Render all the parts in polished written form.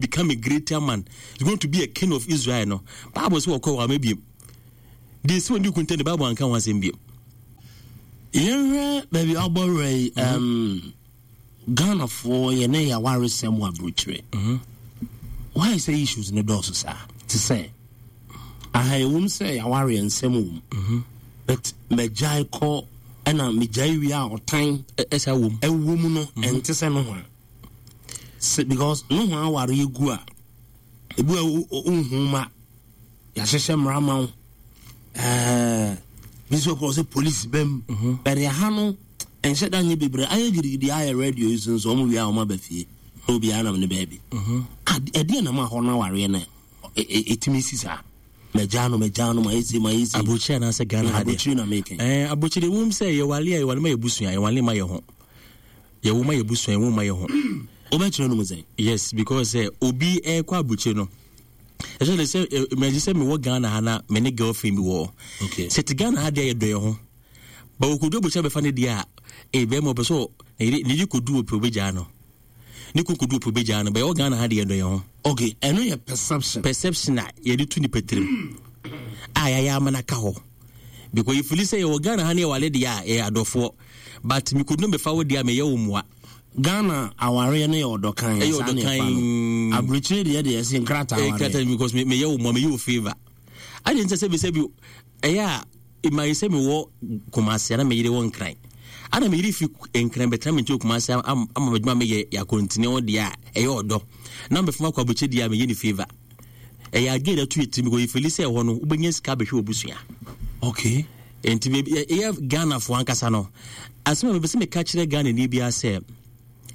become a greater man he's going to be a king of Israel no Bible sɛ wɔkɔ wɔ ama biem deɛ ɛsi wɔn di kunta de Bible anka ho asɛm biem. Yɛnhwɛ baabi a ɔbɔ werɛ yi um, Ghanafoɔ yɛne yɛawaresɛm wɔ aburokyire. Mhm. Why sɛ issues no dɔɔso saa? Te sɛ aha ɛwom sɛ yɛawareɛ nsɛm wɔ mu mhm. but magyae kɔ ɛna megyae wie a ɔtan ɛsa wɔ mu ɛwɔ mu no mhm. ɛnte sɛ nohoa because nohoa awareɛ gu a ebi a wohu ma yɛahyehyɛ mmara ma wo ɛɛ bi nso kɔ sɛ polisi bɛm mhm. bɛde aha no ɛnhyɛ da nyɛ bebree ayɛ gidigidi ayɛ radio yi so nso wɔn wie a wɔn aba fie na obiara nam ne baabi mhm. ɛdeɛ nam ahɔ no awareɛ no ɛtumi si saa mɛgya no mɛgya no ma yɛ ma yɛ si. Aburokyire anaasɛ Ghana ha deɛ. Aburokyire na meka. Ɛɛ aburokyire wɔm sɛ yɛwale a yɛwale ma yɛ busua yɛwale ma yɛ ho. Yɛwo ma yɛ busua yɛwo ma yɛ ho. Wobɛkyerɛ no mu sɛn? Yes because sɛ obi ɛkɔ aburokyire no especially sɛ mɛgye sɛ mewɔ Ghana ha na me ne girlfriend bi wɔ hɔ. Okay. Sɛ te Ghana ha deɛ yɛdɔ yɛ ho. Ba wɔkɔdu aburokyire bɛfa ne deɛ a ee bɛrima ɔpɛ sɛ ne yere kɔdu ɔpɛ obɛgyaa no. Ne kun kɔdu ɔpɛ obɛgyaa no. Bɛyɛ wɔ Ghana ha deɛ yɛdɔ yɛ ho. Okay, ɛno yɛ perception. Perception a yɛde to nipa tirim a yɛayɛ ama no aka hɔ. Because yɛfili sɛ yɛwɔ Ghana ha ne yɛwale deɛ a yɛyɛ adɔfoɔ. But mekɔdu no bɛfa wo deɛ a meyɛ wo mmoa. Ghana awareɛ no yɛ ɔdɔ kan. Ɛyɛ ɔdɔ kan. Aburokyire deɛ deɛ ɛsɛ nkrataa awareɛ. Nkrataa because meyɛ wo mmoa meyɛ wo favour. Adi nti sɛ sɛ bi ɛyɛ a ɛma sɛ mewɔ Kumasi ana meyere wɔ Nkran. Ana meyere fi Nkran bɛtena me nkyɛn Kumasi ama m'adwuma meyɛ yɛ akɔntene ho deɛ a ɛyɛ ɔdɔ. Na mebɛfam akɔ aburokyire deɛ a meyɛ ne favour. Ɛyɛ adwene na ɛto yɛ tirim because yɛfili sɛ ɛhɔ no wobɛnya sika abɛhwɛ w'abusua. Okay. Nti ɛyɛ Ghanafoɔ ankasa no asɛm a mepɛ sɛ meka kyerɛ Ghanani biara sɛ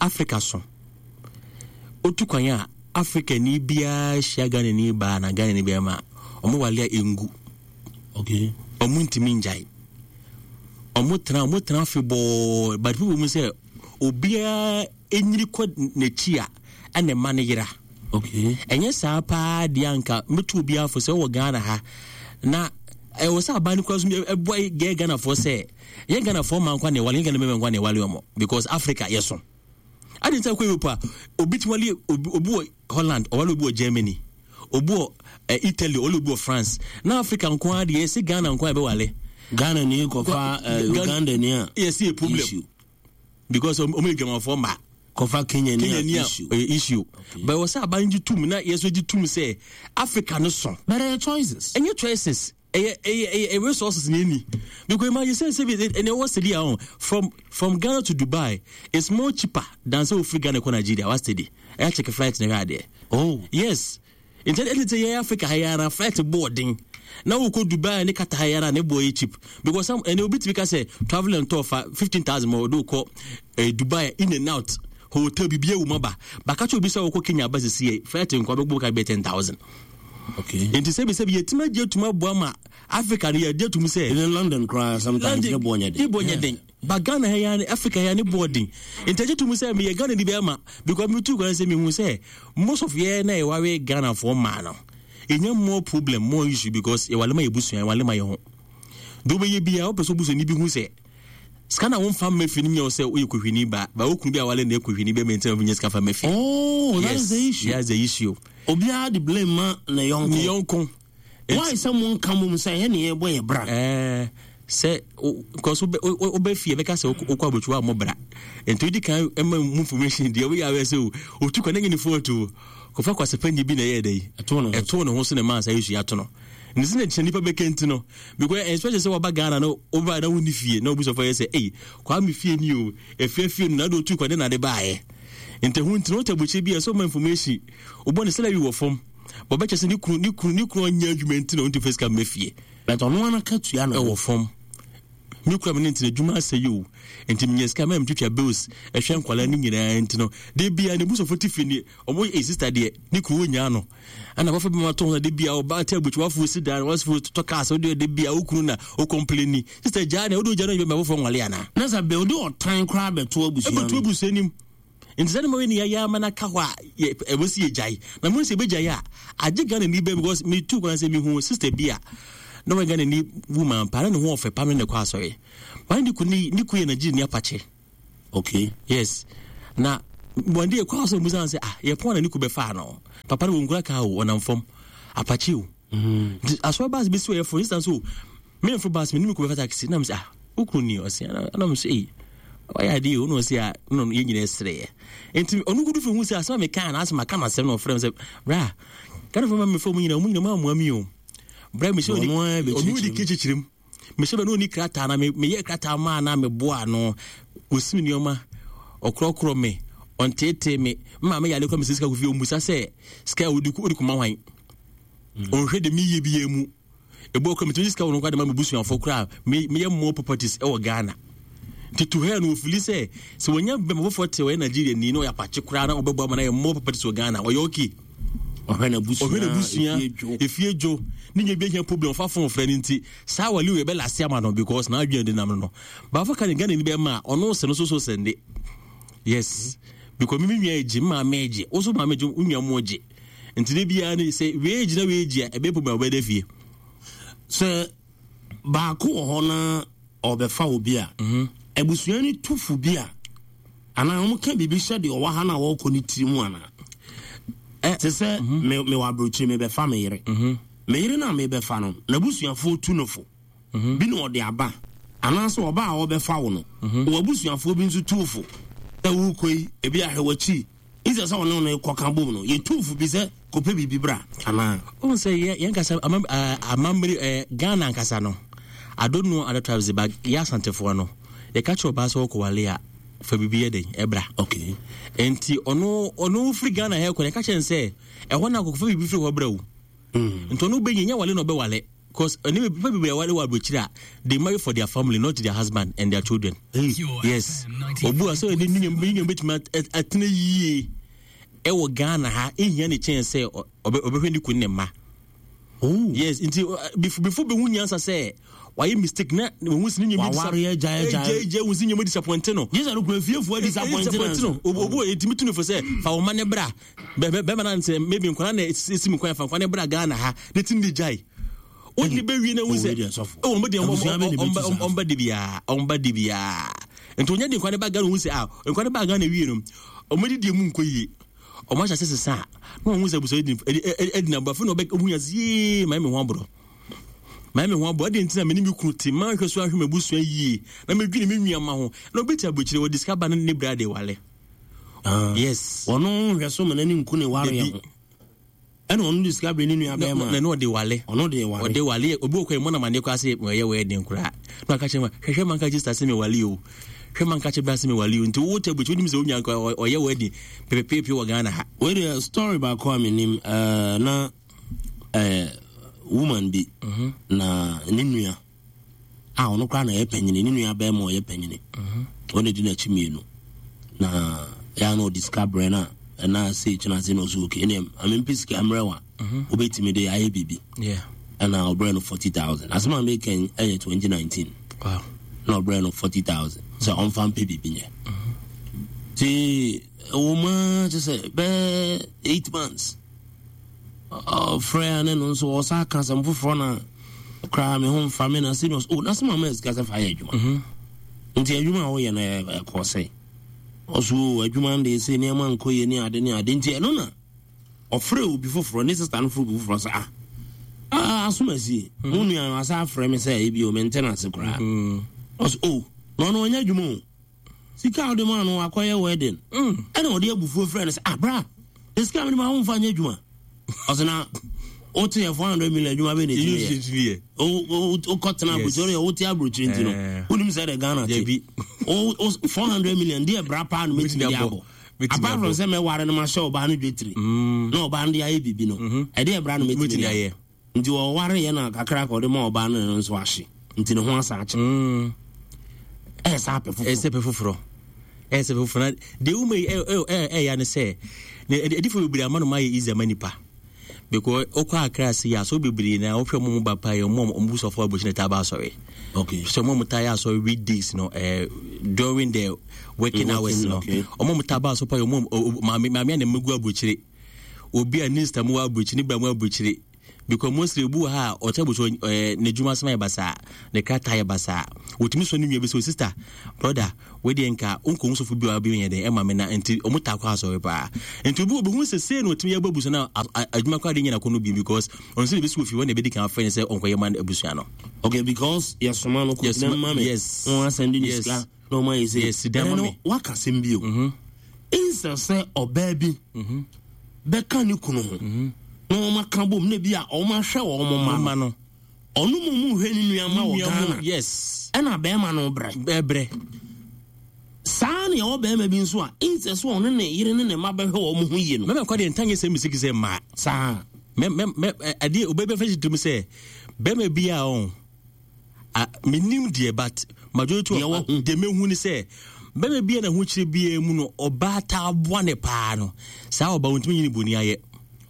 Africa so otu kwan a Africani biara hyia Ghanani baa na Ghanani bɛrima a wɔn wale a ɛngu. Okay. Wɔn ntumi ngyae. Wɔn tena wɔn tena afebɔɔ but people mu sɛ obiara ɛnyini kɔ n'akyi a ɛna ɛma no yera. Okay. Ɛnyɛ saa paa deɛ anka mɛtu obiara fo sɛ wɔ Ghana ha na ɛwɔ sɛ aban no kura so ɛboa yɛ Ghanafoɔ sɛ yɛ Ghanafoɔ ma nkwa na ɛwale yɛ Ghana mɛma nkwa na ɛwale ɔmo because Africa yɛ so. Adi nti akɔ Europe a obi ti wale obi obi wɔ Holland ɔwale obi wɔ Germany obi wɔ eh, Italy ɔwale obi wɔ France na Africa nko ara deɛ yɛsɛ Ghana nko ara ɛbɛwale. Ghana ni kɔfa uh, Uganda ni a yɛsɛ yɛ problem. Issue. Because ɔmo yɛ dwamafoɔ mma. Kɔfa Kenya ni a issue. Kenya issue. Okay. But wɔ sɛ aban gye tum na yɛsɔ gye tum sɛ Africa no so. But ɛyɛ choices. Ɛnyɛ choices. Ɛyɛ ɛyɛ ɛyɛ resources na ɛni. Because imagine sɛ sɛ ɛnɛ wɔ steady ahɔ from from Ghana to Dubai it's more cheaper than sɛ ofiri Ghana kɔ Nigeria wa steady. Ɛyɛ check flight na ɛhwɛ adeɛ. Oh. Yes. Nti ɛde sɛ yɛn Africa ha yi ara flight bɔ ɔden na wokɔ Dubai ne Qatar ha yi ara ne bɔ yɛ cheap because some ɛnɛ obi tumi ka sɛ travel and tour fa 15,000 ma ɔde wokɔ eh, Dubai in and out hotel biribi awu ma ba baka kyɛ obi sɛ wokɔ Kenya aba sisi yɛ flight nkwa bɛgbɔ ka bɛyɛ 10,000. Okay. Nti sɛbi sɛbi yɛtumi agye atum aboa ma Africa no yɛagye atum sɛ. Even London koraa sometimes ne bɔ nyɛ den. Ne bɔ nyɛ den. Ba Ghana ha yi Africa ha ne bɔ den. Nti agye tum sɛ meyɛ Ghana ni bɛrima because metu kwan sɛ mehu sɛ most of yɛ na yɛware Ghanafoɔ mmaa no ɛnya more problem more issue because yɛwale ma yɛbusua yɛwale ma yɛ ho. Deɛ wobɛyɛ biara wopɛ sɛ obusuani bi hu sɛ sika na womfa mma fie no nyɛ wo sɛ woyɛ kohwini ba ba wo kunu bi a wale na ɛkohwini bɛma nti na wonya sika fa mma fie. Oh, that yes, is the issue. That's the issue. Obiara de blame ma ne yɔnko. Ne yɔnko. Why sɛ mo nka mom sɛ ɛyɛ ne yɛbɔ yɛ bra. Ɛɛ sɛ because wobɛ fie bɛka sɛ wokɔ abotwa wa mo bra nti wodi kan ma mu information deɛ woyɛ awɛ sɛ otu kwan ne fo atu kɔfa kwasɛpɛ nye bi na ɛyɛ dɛ yi ɛto ne ho so ne maa saa yesu ato no ne sɛ na kyerɛ nipa bɛka nti no because especially sɛ waba Ghana no woba na wonni fie na obi sɔfo yɛ sɛ ei kwame fie ni o efie fie no na de otu kwan ne na de baayɛ nti ho nti no wote abotire bi a ɛsɛ ɔma information wobɔ ne salary wɔ fam Wɔbɛkyɛ sɛ ne kunu ne kunu ne kunu ɔnyɛ adwuma nti na ɔntu fɛ sika mma fie. But ɔno ara ka tua no. Ɛwɔ fam. Me kura me ne ntina adwuma asɛ yi o. Nti menya sika mɛ metwitwa bills ɛhwɛ nkwadaa ne nyinaa nti no. De bia ne busofo te fie ne ɔmo yɛ sister deɛ ne kunu wɔnyaa no. Ɛna wɔfɛ bi ma to ho de bia ɔba te abutu wafo si dan wafo tɔ cars ɔde de bia wo kunu na o complaini. Sister gyaa ne ɔde ogya no yɛ mɛ wɔfɔ nwale ana. Na sɛ bɛ ɔde ɔtan koraa bɛto abusua no. Ɛbɛto abusua nim. Nti sɛ ne ne yɛayɛ ama no aka hɔ a ɛwɔ sɛ yɛgyae na mo sɛ yɛbɛgyae a agye Ghana ni bɛ because metu kwan sɛ mehu sister bi a na wɔyɛ Ghana ni woman paa na ne ho ɔfɛ paa no na ɛkɔ asɔre maa ne ku ne ku yɛ Nigeria ni apakye. Okay. Yes. Na One day kɔ asɔ musa sɛ ah yɛ pɔn na ne ku bɛfaa no. Papa no wɔnkura kaa o, ɔnam fam. Apakye o. Nti asɔre baase bɛsi ɔyɛ for instance o, memfo baase me ne me ku bɛfa taxi na mesɛ ah wo kunu ni ɔse ana mesɛ ei wayɛ adeɛ o na ɔse ah na yɛn nyinaa sereɛ. Nti ɔno kudu fi hu sɛ asɛm a mekaa na asɛ maka no asɛm na ɔfrɛ me sɛ bra Ghanafoɔ ma mefa mu nyinaa ɔmo nyinaa mu amoa mi o. Bra mehyɛ ɔno di kyekyerem. Mehyɛ bɛ na ɔni krataa na meyɛ krataa maa na meboa no. Ɔsi me nneɛma, ɔkorɔkorɔ me, ɔnteetee me. Mma me yale kora mesɛ sika kofi ɔmmusa sɛ sika a wodi kɔma hwan. Ɔnhwɛ de meyɛ biara mu. Ebi wɔ kora metumi sika wɔ no koraa de ma me busuafoɔ koraa meyɛ more properties ɛwɔ Ghana. Nti to her no ofili sɛ sɛ wɔnya bɛma foforɔ te ɔyɛ Nigeria ni na ɔyɛ apakye koraa na ɔbɛbɔ ama na yɛ more properties wɔ Ghana ɔyɛ okay. Ɔhwɛ n'abusua, ɔhwɛ n'abusua, efie dwo, ne nyɛ bi ahia problem ɔfa phone frɛ no nti saa wale wei bɛ lase ama no because n'adwene de nam no no. Baafo ka ne Ghana ni bɛma a ɔno sɛ no so so sɛnde. Yes. Because me me nua egye, me maame egye, wo so maame egye, wo nua mo egye. Nti de biara ne sɛ wei gyina wei gye a ɛbɛyɛ problem a wɔbɛda fie. Sɛ baako wɔ hɔ na ɔbɛfa obi a, mhm. abusua no tu fo bi a anaa wɔn ka biribi hyɛ deɛ ɔwɔ ha na wɔrekɔ ne tiri mu anaa. Te sɛ mhm. mewɔ aburokyire mebɛfa me yere. Mhm. Me yere no a mebɛfa no, n'abusuafoɔ tu no fo. Bi na ɔde aba anaasɛ ɔba a ɔbɛfa wo no, w'abusuafoɔ bi nso tu wo fo sɛ worekɔ yi, ebi ahwɛ w'akyi. Instead sɛ ɔne no kɔka bom no, yɛtu fo bi sɛ kɔpɛ biribi bra anaa. Wohu sɛ yɛ yɛn kasa amammere ɛɛ Ghana ankasa no, I don't know other tribes but yɛ Asantefoɔ no, yɛka kyerɛ ɔbaa sɛ ɔkɔwale a, fa biribi yɛ dɛn ɛbra. Okay. Nti ɔno ɔno firi Ghana ha kɔ no, yɛka kyerɛ no sɛ ɛhɔ no akɔkɔfa biribi firi hɔ bra o. Nti ɔno bɛnya nyɛ wale na ɔbɛwale. Because ɛne nipa bebree aware wɔ aburokyire a they marry for their family not their husband and their children. Yes. Obu a sɛ ɛde ne nua betumi atena yie ɛwɔ Ghana ha ehia ne kyɛn sɛ ɔbɛhwɛ ne kun ne mma. Oh. Yes, nti before bɛhu nyansa sɛ wayɛ mistake na wɔn si ne nyɛ bi waware agya agya agya wɔn si nyɛ disappoint no. Yesu no kura fiefoɔ disappoint no. Obu etimi tu ne fo sɛ fa wɔn ma ne bra. Bɛma na nsɛ maybe nkwadaa na esi mu kwan fa nkwadaa na bra Ghana ha ne ti ne gyae. Wọ́n bɛ wie na wọ́n sɛ ɛwɔ wɔn deɛ wɔn ba de biara wɔn ba de biara nti wɔn nyɛ de nkwadaa ne ba Ghana wɔn sɛ ah nkwadaa ne ba Ghana wie no wɔn de deɛ mu nkɔ yie wɔn ahyɛ ase sesa a na wɔn sɛ abusua ɛdi na abuafo na ɔbɛ ohun yɛ yie maa mi ho aborɔ maa mi ho aborɔ ɛdi ntina mi ne mi kunu te maa hwɛ so ahwɛ mi abusua yie na mi dwi ne mi nua ma ho na obi te abukyire wɔde sika ba ne ne bra de wale. Ah. Yes. Ɔno nhwɛ so ma n'ani nku ne wareɛ ho. Ɛna ɔno de sika brɛ ne nua bɛrima. Na ɔde wale. Ɔno de wale. Ɔde wale. Obi wɔ kɔ ɛmɔ na ma ne kɔ ase ɔyɛ wɔ ɛden koraa. Na ɔka kyerɛ ma hwɛhwɛ ma nka kyerɛ sase mi wale o. Hwɛ ma nka kyerɛ bra se mi wale o. Nti wo tɛ bukyɛ wonim sɛ wonya nka ɔyɛ wɔ ɛden pepepepe wɔ Ghana ha. Wei deɛ story baako a menim uh, na uh, woman bi mm -hmm. na ne nua a ɔno koraa na ɔyɛ panyini ne nua bɛrima ɔyɛ panyini ɔna di n'akyi mmienu na yɛa na ɔde sika brɛ no a ɛna sɛ kyena ase na ɔsɛ oke ɛneɛ amempɛ sika mmerɛ wa wobɛtumi de ayɛ biribi ɛna ɔbrɛ no 40000 asɛm a meka ɛyɛ 2019 na ɔbrɛ no 40000 sɛ ɔmfa mpɛ biribi nyɛ nti ɛwɔ mu a kyɛ sɛ bɛɛ 8 months Ɔfrɛ a ne no nso ɔsa ka asɛm foforɔ na koraa me ho mfa me na sɛ no oh na sɛ mama sika sɛ fa yɛ adwuma mhm. nti adwuma a woyɛ no ɛkɔ sɛ ɔso oh, adwuma no deɛ sɛ nneɛma nkɔ yɛ ne ade ne ade nti ɛno na ɔfrɛ obi foforɔ ne sista no frɛ obi foforɔ sɛ ah, ah asomasie mhm. mo nua no asa afrɛ me sɛ ebi o mente no ase koraa mhm. ɔso oh na ɔno ɔnyɛ adwuma o Sika a wode maa no wakɔyɛ wedding. Mm. Ɛna ɔde abufuo frɛ no sɛ ah bra, de sika a mede ma wo mfa nyɛ adwuma. Ɔsɛ na wote yɛ 400 million adwuma bɛ na ɛtumi yɛ. Wokɔtena aburokyire ɔyɛ wote aburokyire nti no eh. wonim sɛ de Ghana te. 400 million deɛ bra paa no mɛtumi de abɔ. Apart from sɛ mɛware no mahyɛ ɔbaa no dwetire mm. na ɔbaa no de ayɛ biribi no mm-hmm. ɛdeɛ bra no mɛtumi de ayɛ. Nti ɔwareeɛ na kakra ka ɔde ma ɔbaa no no nso ahye nti ne ho asa akye. Mm. Ɛyɛ sɛ apɛ foforɔ. Ɛyɛ sɛ pɛ foforɔ. Ɛyɛ sɛ pɛ foforɔ na deɛ wuma yi ɛyɛ ne sɛ na ɛdifo bebree ama no ma ayɛ easy ama nipa because okɔ akra ase yɛ asɔre bebree na wohwɛ mo mu ba pa yɛ mo mo busafo abɔkyi na taa ba asɔre. Okay. So mo mo taa yɛ asɔre weekdays no eh, during the working hours no. Ɔmo mo taa ba asɔre pa yɛ mo maame maame a na megu aburokyire. Obi a ne nsta mu wɔ aburokyire ne bra mu aburokyire. Because mostly obi wɔ ha a ɔkyɛ abusua ɛɛ n'adwuma asɛm ayɛ basaa, ne krataa ayɛ basaa. Otumi sɔ ne nua bi sɛ, sister, brother, wei deɛ nka wonkɔhu sɔfo bi a bi yɛ dɛn ɛma me na nti ɔmo taa kɔ asɔre paa. Nti obi wɔ obehu sɛ sei na otumi yɛ bɔ abusua no a adwuma koraa de nyɛ n'akɔnnɔ bio because ɔno sɛ biribi si wɔ fie hɔ na ebedi kan afrɛ no sɛ ɔnkɔyɛ ma abusua no. Okay, because yɛsoma no kɔ gyina ma me. Yes. Wɔn asɛm de ne Yes. sika na wɔn ayɛ sɛ. Yes, dan ma Ɛno me. waka asɛm bio. Nsɛ sɛ ɔbaa bi bɛka ne kunu ho na wɔn aka bom na bi a wɔn ahwɛ wɔn mma no. Ɔno mu mu hwɛ ne nua ma wɔ Ghana. Yes. Ɛna bɛrima no brɛ. Brɛ. Saa na ɛwɔ bɛrima bi nso a nsɛ sɛ ɔne ne yere ne ne mma bɛhwɛ wɔn ho yie no. Mɛmɛ kɔ deɛ ntanyɛ sɛ misiki sɛ mmaa. Saa. Mɛ mɛ mɛ adeɛ obe bɛfɛ si tirim sɛ bɛrima bi a ɔn. Ah, menim deɛ but majority of deɛ mehu ne sɛ bɛrima bi a na ho kyerɛ biara mu no ɔbaa taa boa ne paa no saa ɔbaa wɔntumi nyini boni ayɛ.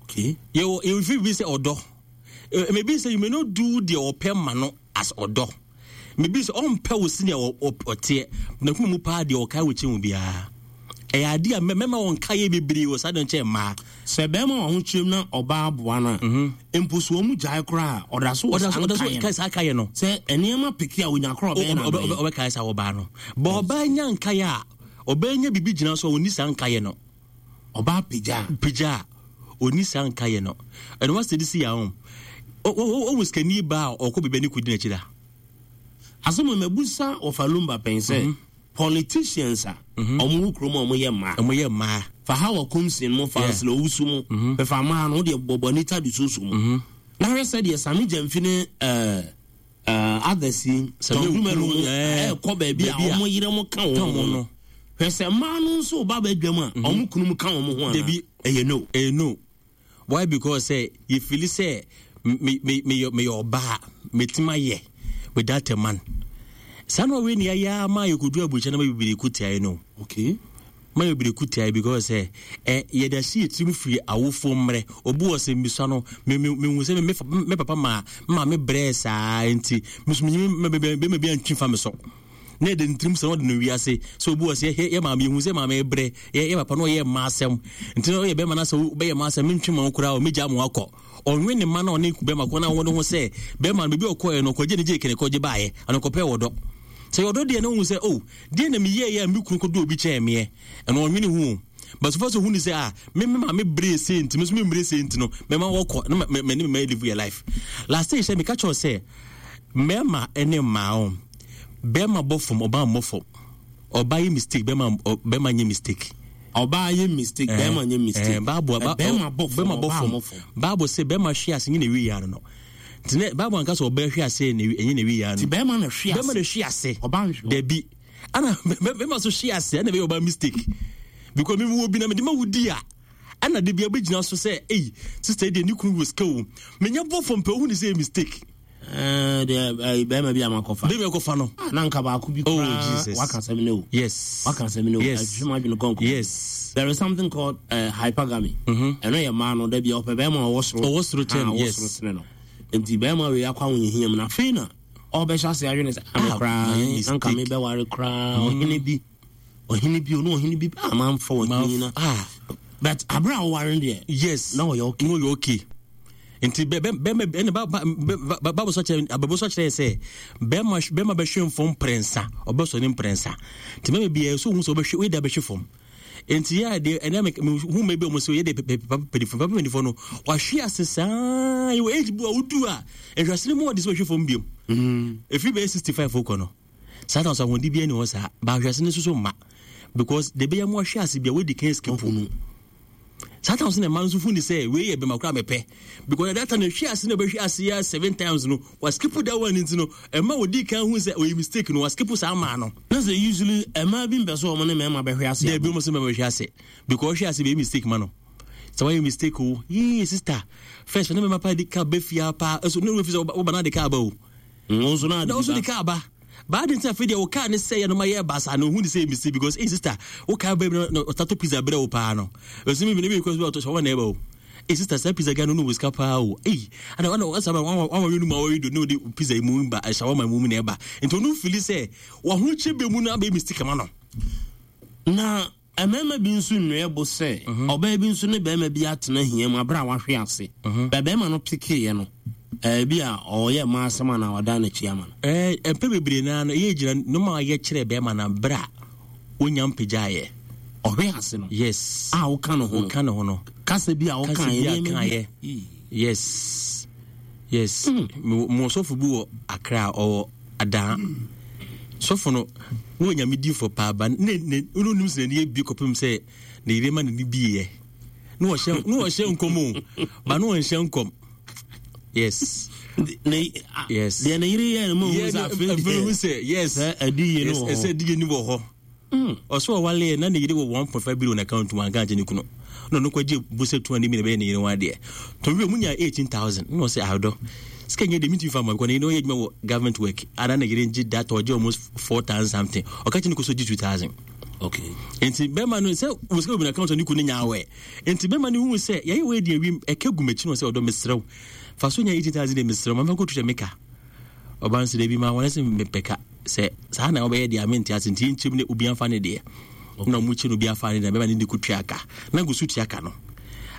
Okay. Yɛwɔ yɛwɔ fi bi sɛ ɔdɔ. Maybe sɛ you may not do deɛ ɔpɛ ma no as ɔdɔ. Maybe sɛ ɔmpɛ wo senior ɔteɛ na kuma mu paa deɛ ɔkae wɔ kyɛn wo biara. Ɛyɛ adeɛ a mɛma wɔn nkaeɛ bebree wɔ saa deɛ nkyɛn mmaa. Sɛ bɛrima wɔ ahokyerɛm na ɔbaa aboa no a, mhm. mpo so wɔn gyae koraa a, ɔda so wɔ saa nkaeɛ no. Sɛ nneɛma peke a onya koraa ɔbɛyɛ na ɔbɛyɛ. Ɔbɛkae saa ɔbaa no. Bɔ ɔbaa nya nkaeɛ a, ɔbaa nya biribi gyina so a ɔnni saa nkaeɛ no. Ɔbaa pagya. Pagya a, ɔnni saa nkaeɛ no. Ɛno wa sɛ de si yɛ ahom. Ɔwɔ sikani baa a ɔkɔ baabi a ne kɔdi n'akyi da. Asɛm a mabusa wɔfa Lumba pɛn sɛ. Mhm. Politicians a ɔmo wɔ kurom a ɔmo yɛ mmaa. Ɔmo yɛ mmaa. Fa Hawa Koomson mo, fa Ursula Owusu mo, bɛfa mmaa no, wo deɛ bɔ Anita de Soso mo. Na hwɛ sɛ deɛ Sammy Gyamfi ne ɛɛ others yi, Tom Dumelo mo ɛɛkɔ baabi a ɔmo yere mo ka wɔn ho no. Hwɛ sɛ mmaa no nso ba badwam a ɔmo kunu mo ka wɔn ho anaa? Dabi. Ɛyɛ no. Ɛyɛ no. Why because sɛ yɛ fili sɛ me me meyɛ meyɛ ɔbaa mɛtumi ayɛ without a man saa na ɔwei ne yɛayɛ ama yɛkɔduru aburokyɛ no ma bebree ko tiae no okay ma bebree ko tiae because sɛ ɛ yɛde ahyɛ yɛ tirim firi awofoɔ mmerɛ obi wɔ sɛ mbisua no me me mehu sɛ me me papa ma ma me brɛɛ saa nti me so menyimi bɛma bi antwi fa me so na ɛde ne tirim sɛ ɔde no wiase sɛ obi wɔ sɛ yɛ yɛ maame yɛhu sɛ maame brɛ yɛ yɛ papa no ɔyɛ mma asɛm nti na ɔyɛ bɛrima no sɛ wobɛyɛ mma asɛm mentwe ma wo koraa ɔmɛgya mo akɔ ɔnwe ne ma na ɔne bɛrima kɔ na wɔne ho sɛ bɛrima no baabi ɔkɔɛ no ɔkɔgye ne gye kene kɔgye baeɛ ana ɔkɔpɛ wɔ dɔ sɛ yɛ ɔdɔ deɛ na ɔhu sɛ o oh, deɛ na meyɛɛ yɛ a me kunu kɔdɔ obi kyɛn meɛ ɛno ɔnwene ho but so far so hu ne sɛ ah me me maame bere se nti me so me mmere se nti no mɛma wɔkɔ na mɛ mɛ ne mɛ live your life last day hyɛ meka kyerɛ sɛ Mmarima ne mmaa o, barima bɔ fam, ɔbaa mmɔ fam. Ɔbaa yɛ mistake, bɛrima bɛrima nyɛ mistake. Ɔbaa yɛ mistake, eh, bɛrima nyɛ mistake. Eh, Bible, ba, bɛrima bɔ fam, bɛrima bɔ fam. Bible sɛ bɛrima hwe ase nye na ewi yɛ ano no. Nti ne Bible anka sɛ ɔbaa hwe ase na enye na ewi yɛ ano. Ti bɛrima na hwe ase. Bɛrima na hwe ase. Ɔbaa nhwe. Dabi. Ana bɛrima so hwe ase ɛna bɛyɛ ɔbaa mistake. Because mi wo bi na mi de ma wo di a. Ɛna de bia bɛgyina so sɛ ei sister yi deɛ ne kunu wɔ sika o menya bɔ fam pɛ wohu ne sɛ yɛ mistake. Eh, deɛ eh, bɛrima bi a makɔfa bɛrima kɔfa no ah, na nka baako bi oh, koraa waka asɛm ne o yes waka asɛm ne o yes ɛhwehwɛ mu adwene kɔnkɔn yes there is something called uh, hypergamy mm-hmm. ɛno yɛ mmaa no da bi ɔpɛ bɛrima ɔwɔ soro ɔwɔ soro kyɛn ah, yes ɔwɔ soro sene no nti bɛrima wei akɔ ahohiahia mu na afei na ɔbɛhyɛ ase adwene sɛ ame ah, koraa anka mebɛware koraa mm. ɔhene bi ɔhene bi ɔne ɔhene bi a manfa ɔhene yi na ah. but abere a wɔware no deɛ yes na ɔyɛ okay na ɔyɛ okay nti bɛ bɛ bɛma ɛna ba ba ba baabu sɔ kyerɛ ababu sɔ kyerɛ sɛ bɛma bɛma bɛhwɛ nfam mprɛnsa ɔbɛsɔ ne mprɛnsa nti bɛma bi yɛ so ohun sɛ ɔbɛhwɛ oyi da bɛhwɛ fam nti yɛ adeɛ ɛnna mi hu mɛ bi ɔmo sɛ yɛ de papa mpanyinfoɔ papa mpanyinfoɔ no wahwe ase saa yɛ wɔ age bu a wodu a nhwɛase no mu ɔde sɛ ɔhwɛ fam biom efi bɛyɛ 65 kɔ no. Saa na ɔsɛ ahoɔden biara ni hɔ saa. Ba ahwɛase no soso mma. Because de bɛyɛ mo ahwɛ ase bia wadi kan skip no. Saa time so na mma no nso hu ne sɛ wei yɛ bɛma koraa mepɛ. Because at that time hwɛ ase na bɛhwɛ ase ya seven times no wa skip that one nti no ɛma wɔdi kan hu sɛ ɔyɛ mistake no wa skip saa maa no. Na sɛ usually ɛmaa bi mpɛ sɛ wɔn ne mmarima bɛhwɛ ase. Dɛbi wɔn sɛ mmarima bɛhwɛ ase because ɔhwɛ ase bɛyɛ mistake ma no. Sɛ wɔyɛ mistake o yee sister first ne mmarima paa di kaa bɛ fia paa ɛso ne wɔn fi sɛ wɔba na de kaa ba o. Wo nso na ade bi ba. kaa ba. Baa de nti afei deɛ wo kaa ne sɛ yɛ no ma yɛ basaa na ohun ne sɛ mistake because hey sister wo kaa bɛ na ɔtato pizza brɛ wo paa no. Ɛsɛ mi bi ne bi kɔ so ɔtɔ shawarma na ɛba o. Hey sister saa pizza guy no no wɔ sika paa o. Hey ana ana ɔsa ba wɔn wɔn wɔn mu awɔre do ne ɔde pizza yi mu ba shawarma mu na ɛba. Nti ɔno fili sɛ wɔn ahokyɛ bɛ mu no abɛ mistake ma no. Na. Mmarima bi nso nnua bo sɛ ɔbaa bi nso ne barima bi atena hia mu abere a wahwe ase. Bɛ barima no pekeeɛ no, ebi a ɔyɛ mmaa asɛm anaa wadan n'akyi ama no. Mpɛ bebree naa no, ɛyɛ gyina nneɛma a yɛ kyerɛ barima no abere a wonya mpagyaeɛ. Ɔhwe ase no. Yes. A woka ne ho no. Woka ne ho no. Kasa bi a woka yɛ. Kasa bi a ka yɛ. Yes. Yes. Mo sɔfo bi wɔ Accra ɔwɔ Adaa. Sɔfo no na ɔyɛ nyame difoɔ paa ba ne ne ne onim sɛ n'ani abie kɔpem sɛ ne yere ma n'ani bieɛ na ɔhyɛ na ɔhyɛ nkɔm o ba na ɔnhyɛ nkɔm yes ne yes deɛ ne yere yɛ no ma ohun sɛ afei deɛ sɛ yes sɛ adiye no wɔ hɔ sɛ adiye no wɔ hɔ Ɔsɛ ɔwaleɛ na ne yere wɔ 1.5 billion account mu anka ankyɛ ne kunu na ɔno kɔgye bosɛ 200 million bɛyɛ ne yere ho adeɛ tɔn wie ɔmo nyaa 18,000 na ɔsɛ ahadɔ sika nyɛ deɛ mentumi fa ma because ne yere ɔyɛ adwuma wɔ government work ana ne yere ngye data ɔgye almost 4,000 something ɔka kyɛ ne kɔ so gye 2,000 okay nti bɛrima no sɛ wɔ sika wɔ account ne kunu nya awɛ nti bɛrima no hu sɛ yɛyɛ wɔ adi awim ɛka gu m'akyi no sɛ ɔdɔ mesrɛ wo fa so nya 18,000 deɛ mesrɛ wo ma mfa kɔtu hyɛ meka Ɔba no sɛ dabi ma wɔn sɛ mepɛ ka sɛ saa na wɔbɛyɛ deɛ mente ase nti yɛnkyɛm ne obi afa ne deɛ na ɔmo kyɛ no obi afa ne deɛ bɛma ne de kɔtua ka na gu so tua ka no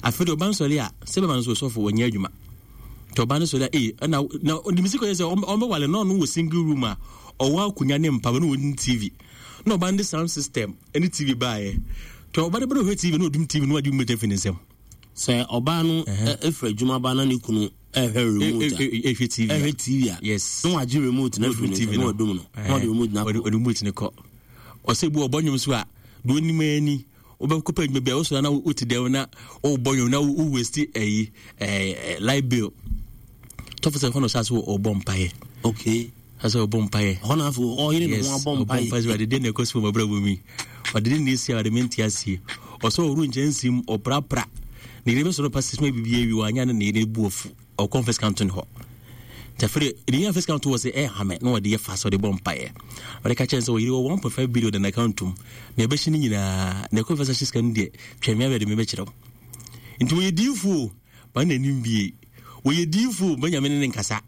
afei deɛ ɔba no sɔre a sɛ bɛma no so sɔfo wɔnyɛ adwuma nti ɔba no sɔre a ee ɛna na ɔde si kɔyɛ sɛ ɔmbɛwale na ɔno wɔ single room a ɔwɔ akonnwa ne mpa na ɔne tv na ɔba no de sound system ne tv baeɛ nti ɔba no bɛrɛ ɔhwɛ tv na ɔdum tv na wagye mu bɛgya fi ne nsam sɛ ɔbaa no efiri adwuma ba na ne kunu ɛhwɛ remote a ɛhwɛ tv ɛhwɛ tv a yes na wagye remote na afiri ne nsam na wadum no na ɔde remote na akɔ remote ne kɔ ɔsɛ bu ɔbɔ nnwom so a deɛ onim ani wobɛkɔ pɛ adwuma bi a wosɔre na wote dɛm na wobɔ nnwom na wo waste ɛyi ɛɛ light bill tɔfo sɛ hɔ na ɔhyɛ ase ɔbɔ mpaeɛ okay Asɛ ɔbɔ mpaeɛ. Hɔ na afei ɔyere ne ho abɔ mpaeɛ. Ɔbɔ mpaeɛ sɛ ɔde deɛ na ɛkɔ so wɔ m'abrabɔ mu yi. Ɔde ne na esi a ɔde mente aseɛ. Ɔsɛ ɔworo nkyɛnse mu ɔprapra. Ne yere bɛsɔrɔ pa sisi ma biribi awi wanya ne ne yere bu afu. Ɔkɔ mfɛs kanto ne hɔ. Nti afei de ne yere mfɛs kanto wɔ sɛ ɛyɛ hame na ɔde yɛ fa sɛ ɔde bɔ mpaeɛ. Ɔde ka kyerɛ sɛ ɔyere wɔ 1.5 billion na n'account mu. Na ɛbɛhye ne nyinaa. Na ɛkɔ mfɛs ahye sika no deɛ twɛn me abɛde me bɛkyerɛ wo. Nti wɔyɛ diifoɔ. Ma n'anim bie. Wɔyɛ diifo ma nyame ne ne nkasa.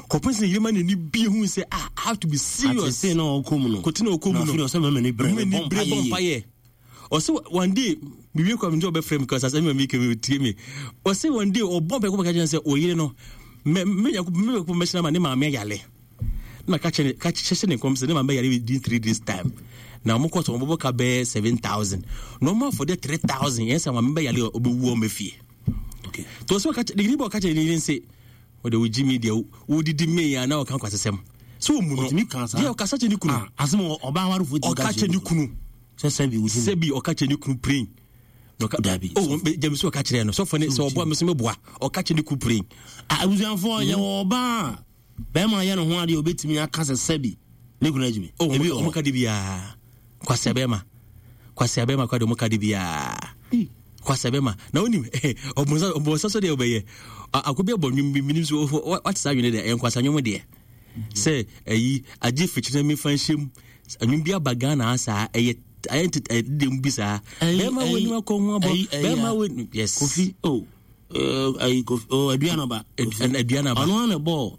Kɔpem sɛ yere ma n'ani bie hu sɛ ah I have to be serious. Atete na ɔkɔ mu no. Kote na ɔkɔ mu no. Na afei ɔsɛ mɛmɛ ni bere bɔ mpa yɛ. Yɛ. Ɔsɛ one day mewie kɔ mi nti ɔbɛfrɛ mi kɔ asase mi ma mi kɛ mi tie mi. Ɔsɛ one day ɔbɔ mpa kɔ bɛka kyerɛ sɛ ɔyere no mɛ mɛ nya mɛ kɔ mɛhyɛn ama ne maame ayale. Na ka kyerɛ ka hyɛ ne nkɔm sɛ ne maame bɛyare within 3 days time. Na wɔn kɔ so wɔn bɛbɔ ka bɛyɛ 7,000. Na wɔn afɔde 3,000 yɛn sɛ maame bɛyare ɔbɛwu wɔn bɛ fie. Okay. To so ka ne bɔ ka kyerɛ ne yere nse wɔde wo gyimi deɛ wodidi mee a na ɔka nkwasasɛm sɛ ɔmu no deɛ ɔkasa kyerɛ ne kunu ah, asɛm ɔbaa awarefo ti ɔka kyerɛ ne kunu sɛ sɛbi wo sɛbi ɔka kyerɛ ne kunu praying dabi oh gyami sɛ ɔka kyerɛ no sɔfo ne sɛ ɔboa me so meboa ɔka kyerɛ ne kunu praying ah, abusuafoɔ yɛwɔ ɔbaa bɛrima yɛ ne ho adeɛ ɔbɛtumi aka sɛ sɛbi ne kunu agyimi oh, ebi ɔmo ka de biara kwasea bɛrima kwasea bɛrima kwa de ɔmo ka de biara kwasea bɛrima na wonim ɔbɔnsa ɔbɔnsa so deɛ ɔbɛyɛ ako bi abɔ nwom bi minim so wate saa nwene deɛ ɛyɛ nkwasea nwom deɛ sɛ ɛyi agye fikyiri na mefa nhyɛ mu nwom bi aba Ghana saa ɛyɛ ayɛ ntete ɛyɛ dede mu bi saa bɛrima wo anim akɔ ho abɔ bɛrima wo yes kofi oh ayi kofi oh aduanaba aduanaba ɔno ana bɔɔ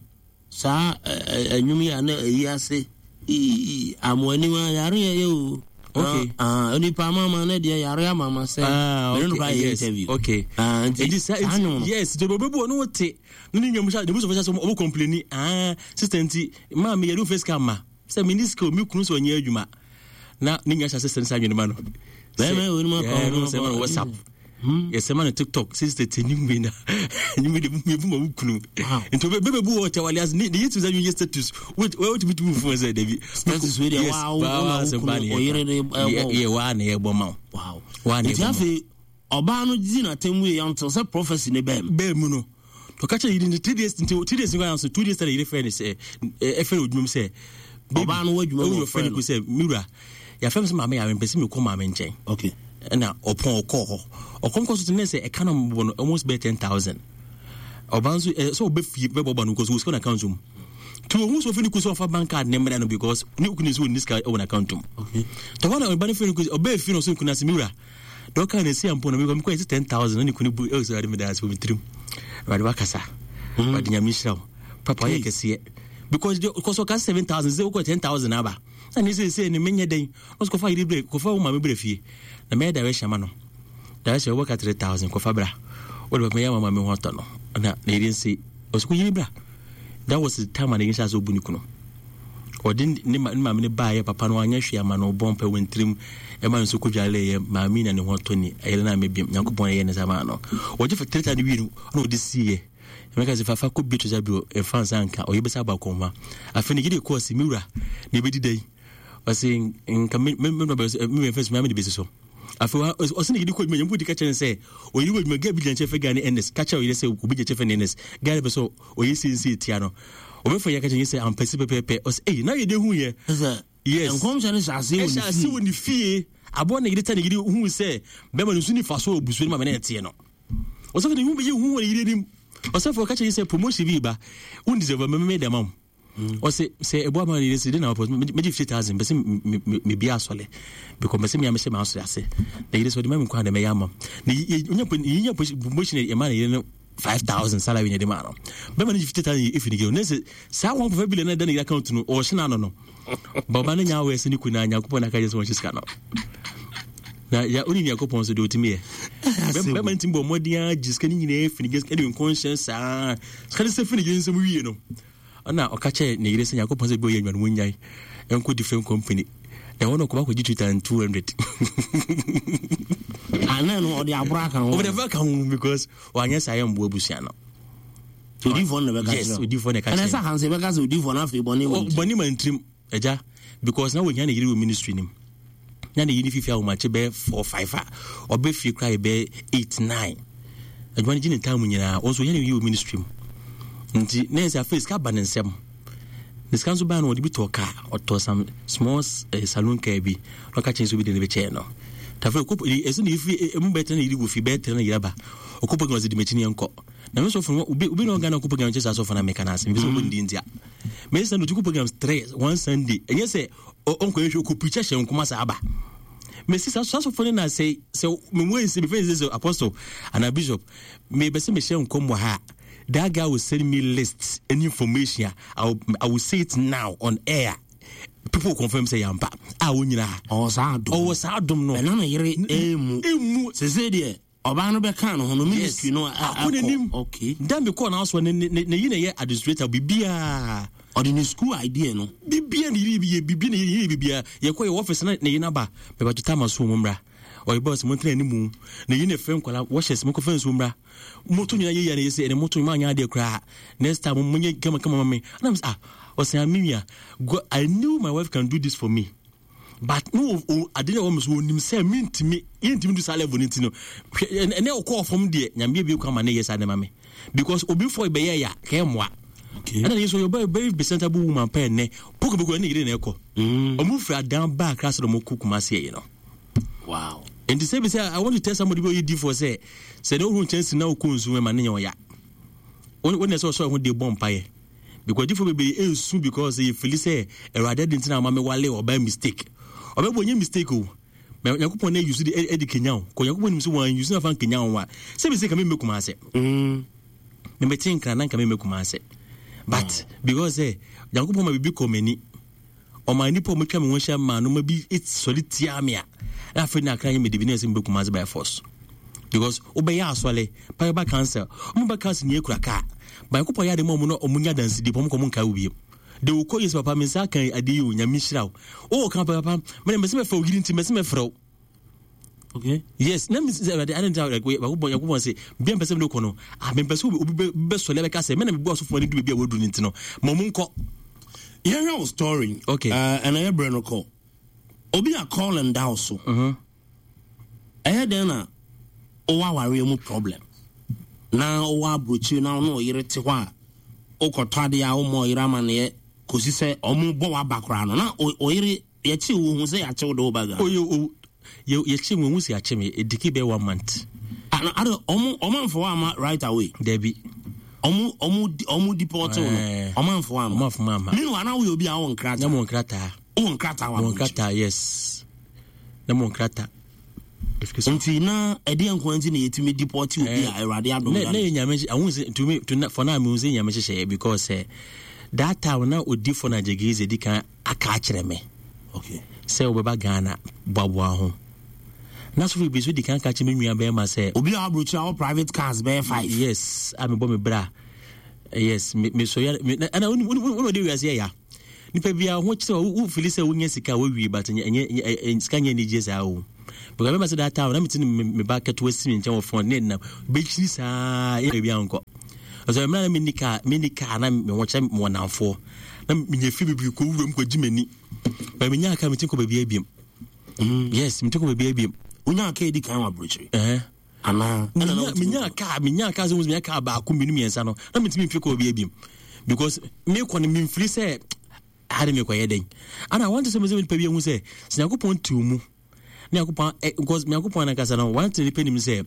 saa ɛnwom yi a na ɛyi ase ii amoanim a yare yɛ yɛ o okay ah onipa amama ne deɛ yare amama sɛ ah okay no yes interview okay ah nti saa nwom no yes nti obebu ɔno wote ne ne nwom hyɛ ne busofo hyɛ sɛ ɔmo complaini ah sister nti maame yɛde wo face cam ma sɛ mini sika o me kunu sɛ ɔnyɛ adwuma na ne nua hyɛ ase sɛ ne saa adwene ma no bɛrima wɔ ma kɔn no sɛ ma no whatsapp yɛsɛ ma no tiktok sister te ne mu na ne mu de mu bu ma wo kunu nti bɛbɛ bu wɔ tɛwale ase ne yɛ tumi sɛ yɛ status wotumi tumi fún sɛ dabi status wei deɛ waa wo na wo kunu ɔyere ne ɛbɔ yɛ waa na yɛbɔ ma wo waa na yɛbɔ ma wo Ɔbaa no dzi n'atsɛmbu yie until sɛ prophecy no baa mu. Baa mu no, ɔka kyerɛ yere no 3 days nti 3 days nkoraa nso 2 days na yere frɛ no sɛ ɛfrɛ no odwuma mu sɛ ɔbaa no wɔ adwuma mu ɔfrɛ no sɛ me wura yɛafrɛ me sɛ maame yare mpɛ sɛ mekɔ maame nkyɛn. Okay. Ɛna ɔpɔn ɔkɔɔ hɔ ɔkɔm kɔ so te ne sɛ ɛka no mbɔ no almost bɛyɛ 10,000 ɔbaa nso sɛ ɔbɛ fie bɛbɔ ba no because wɔ sika na account mu nti ohun sɛ ɔfɛ ne ku sɛ ɔfa bank card ne mmerɛ no because ne kunu nso ɔnni sika wɔ n'account mu tɔhɔ na ɔba no fɛ no ku ɔbɛɛ fie no ɔsɛ kunu ase me wura Deɛ ɔkaa no ɛsi ampo na mekɔ mekɔ yɛsɛ 10,000 na ne kunu bu ɛwɔ sɛ awurade meda ase wɔ me tirim awurade wakasa awurade nyame nhyira wo papa ɔyɛ kɛseɛ because because ɔka 7,000 sɛ wokɔ 10,000 aba. Na ne seesei no menyɛ dɛn? Ɔse kɔfa yere brɛ, kɔfa wo maame brɛ fie. Na mɛyɛ direction ama no. Direction wɔbɛka 3000 kɔfa bra. Wode bɛpɛ yɛ ama maame ho atɔ no. Na ne yere nse ɔse kɔ yere bra. That was the time a ne yere hyɛ ase ɔbu ne kunu. Ɔde ne maame no baeɛ papa no anyɛ hwee ama no ɔbɔ mpɛ wɔ ntirim ɛma no nso kɔdwaleeɛ maame na ne ho atɔ ni ɛyere no a mɛbiam Nyankopɔn ɛyɛ ne sa maa no. Ɔgye 3000 wie no na ɔde siiɛ. Emeka sɛ fafa kɔ bie to bio mfa nsa nka ɔyɛ bɛsa abɔ akɔnma. Afei ne gyede kɔɔ se me wura na ebedi dɛn? Ɔse nka me me me me me me de besi so. Afei ɔse ne gyede kɔ adwuma nyɛ mpo di ka kyerɛ ne sɛ ɔyere wɔ adwuma gaa bi gyina nkyɛn fɛ gaa ne Ernest ka kyerɛ ɔyere sɛ obi gyina nkyɛn fɛ ne Ernest gaa ne pɛ sɛ ɔyɛ siesie tia no. Ɔbɛfa yɛ ka kyerɛ sɛ ampɛsi pɛpɛɛpɛ ɔse ei na yɛ de hu yɛ. Yes. Nkɔmhyɛ no hyɛ ase wɔ ne fie. Ɛhyɛ ase wɔ ne fie. Aboa ne yere ta ne yere hu sɛ bɛrima no nso ni fa so wɔ busua no ma mene ɛteɛ no. Ɔsɔfo de hu bɛyɛ hu wɔ ne yere anim. Ɔsɔfo ɔka kyerɛ sɛ promotion bi ba. Wo deserve me me dɛm am. Ɔsɛ sɛ ɛboa ma ne yere sɛ de na ɔpɔ megye 50,000 bɛsɛ me bi asɔle. Because bɛsɛ me amɛhyɛ m'asɔre ase. Na yere sɛ ɔde ma me nkwa na mɛyɛ ama. Na yɛnya promotion ɛma ne yere no 5000 salary na ɛde maa no. Bɛma no gye 50,000 efi ne gye. Ne sɛ saa 1.5 billion na ɛda ne yere account no ɔhyɛ n'ano no. Baba no nya awɛ sɛ ne kunu na Nyankopɔn na aka kyerɛ sɛ wɔnhyɛ sika no. Na ya oni Nyankopɔn so deɛ ɔtumi yɛ. Bɛma no tumi bɔ mmɔden ara gye sika no nyinaa fi ne gye sika de nkɔnhyɛ saa. Sika no sɛ fi ne gye nsɛm wie no. Ɛna ɔka kyerɛ ne yere sɛ Nyankopɔn sɛ bi ɔyɛ adwuma no wɔnyae nkɔ different company. Na ɛhɔ no ɔkɔba kɔgye 2200. Ana no ɔde aboro aka ho. Ɔde aboro aka ho because wanyɛ saa yɛ mboa abusua no. Odiifoɔ no na bɛka kyerɛ. Yes, odiifoɔ na ɛka kyerɛ. Ɛna sɛ hansi bɛka sɛ odiifoɔ no afei bɔne wɔ bɔne ma ntirim agya because na wɔhia ne yere wɔ ministry nim. Na ne yere ne fifi ahomakye bɛyɛ 4 5 a ɔbɛ fie koraa yɛ bɛyɛ 8 9. Adwuma no gye ne time nyinaa wɔn nso wɔhia ne yere wɔ ministry mu. Nti na yɛ sɛ afei sika ba ne nsam. Ne sika nso baa no wɔde bi tɔɔ kaa ɔtɔ some small eh, saloon car bi na ɔka kyerɛ sɛ obi de ne bɛkyɛɛ no. Tafo ɛkɔ ɛsɛ ne yɛfiri emu bɛyɛ tena ne yere wɔ fie bɛyɛ tena ne yere aba ɔkɔ pɔ ɔsɛ di m'akyi ne yɛnkɔ. Na me sɔfo no obi obi na ɔgana kɔ program kyɛ saa sɔfo na meka na asɛm bi sɛ ɔbɔ ne din ntia. Me sɛ no tuku programs three one Sunday. Ɛnyɛ sɛ ɔnkɔ yɛhwɛ ɔkɔ preacher hyɛ nkoma saa aba. Me si saa sɔfo no na sɛ sɛ me mu nsi me fɛn sɛ apostle ana bishop me bɛ sɛ me hyɛ nkɔm wɔ ha. That guy will send me list any information. I will say it now on air. People will confirm say yampa. Ah, wo nyina. Ɔwɔ saa adom. Ɔwɔ saa adom no. Ɛna na yere emu. Emu. Sese deɛ. Ɔbaa no bɛkaa ne ho no ministry no akɔ n'anim. Okay. Da mi kɔɔ n'aso ne ne ne yi na yɛ administrator bibiara. Ɔde ne school idea no. Bibiara ne yiri yɛ bibi ne yiri bibiara yɛ kɔ yɛ office na ne yi naba bɛba to time aso wɔn mmra. Ɔyɛ bɔs mo ntena anim ne yi na fɛ nkɔla wɔhyɛ mo kɔfɛ nsuo mmra. Moto nyina yɛ yɛ na yɛ sɛ ɛnɛ moto nyina anyɛ adeɛ koraa. Next time mo nyɛ kama kama ma me. Ɛna mo sɛ ah ɔsɛn amia I knew my wife can do this for me. But no o ade na ɛwɔ me so onim sɛ mentumi yɛntumi du saa level no nti no hwɛ ɛnɛ ɔkɔɔ fam deɛ nyame abie kwan ma ne yɛ saa de ma me because obi fɔ bɛyɛ ya kɛɛ mmoa ɛna ne so yɛ very presentable woman pɛɛ nnɛ poko bɛkɔ ɛne yere na ɛkɔ mm. ɔmo firi adan ba akra sɛ ɔmo kɔ kumase yɛ no wow nti sɛ bi sɛ i want to tell somebody bi ɔyɛ di for sɛ sɛ ne ohun kyɛnse na ɔkɔ nsu ɛma ne nyɛ ɔya wɔn na ɛsɛ ɔsɔ ɛho de bɔ mpaeɛ Because adifo bebree nsu because yɛ fili sɛ awurade adi ntina ama me wale ɔbaa mistake. Ɔbɛbɔ nye mistake o. Ma Nyankopɔn na yusu de ɛde kenya o. Kɔ Nyankopɔn nim sɛ wɔn yusu na fa nkenya o a. Sɛ mistake me mmekuma ase. Mm. Me mete nkra na nka me mmekuma ase. But mm. because eh Nyankopɔn ma bibi kɔ m'ani. Ɔma nnipa a wɔatwa me ho ahyia maa nneɛma bi sɔre tiaa me a, na afei na akra nyɛ mede bi na ɛsɛ mebɛkum ase by force. Because wobɛyɛ asɔre, pa bɛba council, wɔn ba council nyɛ kura kaa. Nyankopɔn yɛ ade ma wɔn na wɔn nya dansidie, wɔn kɔ wɔn nkae wo bio. De wo kɔ Yesu papa me nsa aka adeɛ yi o, Nyame nhyira wo. Wowɔ ka papa, mene mɛsɛ mɛfrɛ wo yiri nti mɛsɛ mɛfrɛ wo. Okay. Yes, na mi sɛ ɛwɛde adi ntina like wakobɔ yakobɔ sɛ bia mpɛsɛ mi de kɔ no ah mi mpɛsɛ obi bɛ bɛ sɔle abɛka sɛ mɛ na mi bu asofo ne du beebi a wadu ne ti no ma ɔmo nkɔ. Yɛhwɛ wo story. Okay. Ɛna yɛ brɛ no kɔ. Obi a call and down so. Mm-hmm. Ɛyɛ dɛn na ɔwɔ awareɛ mu problem na ɔwɔ aburokyire na ɔne ɔyere te hɔ a wokɔtɔ adeɛ a woma ɔyere amaneɛ kɔsi sɛ ɔmo bɔ waba koraa no na ɔyere Yɛkye wo hu sɛ yɛakye wo de wo ba Ghana. Oye o yɛ yɛkye me ohun sɛ yɛakye me ediki bɛyɛ one month. Ah na ade ɔmo ɔmo anfa wo ama right away. Dabi. Ɔmo ɔmo ɔmo deport wo no eh. ɔmo anfa wo ama. Ɔmo anfa ama. Meanwhile na woyɛ obi a wowɔ nkrataa. Na mo nkrataa. Wowɔ nkrataa wɔ aburokyire. Mo nkrataa yes. Na mo nkrataa. Nti na ɛdeɛ nko nti na yɛtumi deport obi a eh, Awurade adom na yɛ nyame ahun sɛ to me to for now me sɛ nyame hyehyɛ because eh, that time na odi for na jegeze di kan aka akyerɛ me. Okay. Sɛ wobɛba Ghana boaboa ho. Na sɔfo bi so di kan ka kyerɛ me nua bɛrima sɛ. Obi a aburokyire a wɔ private cars bɛyɛ five. Yes, a mebɔ me bra. Yes, me me so ya me ɛna woni woni woni ɔde wiase yɛ ya. Nipa bi a ho kyerɛ wo fili sɛ wonya sika wowie but ɛnyɛ ɛnyɛ sika nyɛ anigye saa o. Because mɛma sɛ that time na mete ne me ba ketewa si me nkyɛn wɔ phone ne nam bɛkyiri saa yɛ baabi ankɔ. Ɔsɛ mmerɛ na menni kaa menni kaa na me ho kyerɛ me wɔ namfoɔ na menya fie bebree kɔ wuram kɔgye m'ani. But menya kaa mete kɔ baabi abiem. Yes, mete kɔ baabi abiem. Wonya kaa edi kan wɔ aburokyire? Anaa? Menya kaa menya kaa sɛ menya kaa baako mmienu mmiɛnsa no na metumi mfi kɔ baabi abiem because mekɔ no memfiri sɛ ha de mekɔyɛ dɛn ana wante sɛ mesɛ nipa bi ahu sɛ sɛ Nyankopɔn te wo mu ne Nyankopɔn eh, because Nyankopɔn ankasa no wante nipa nim sɛ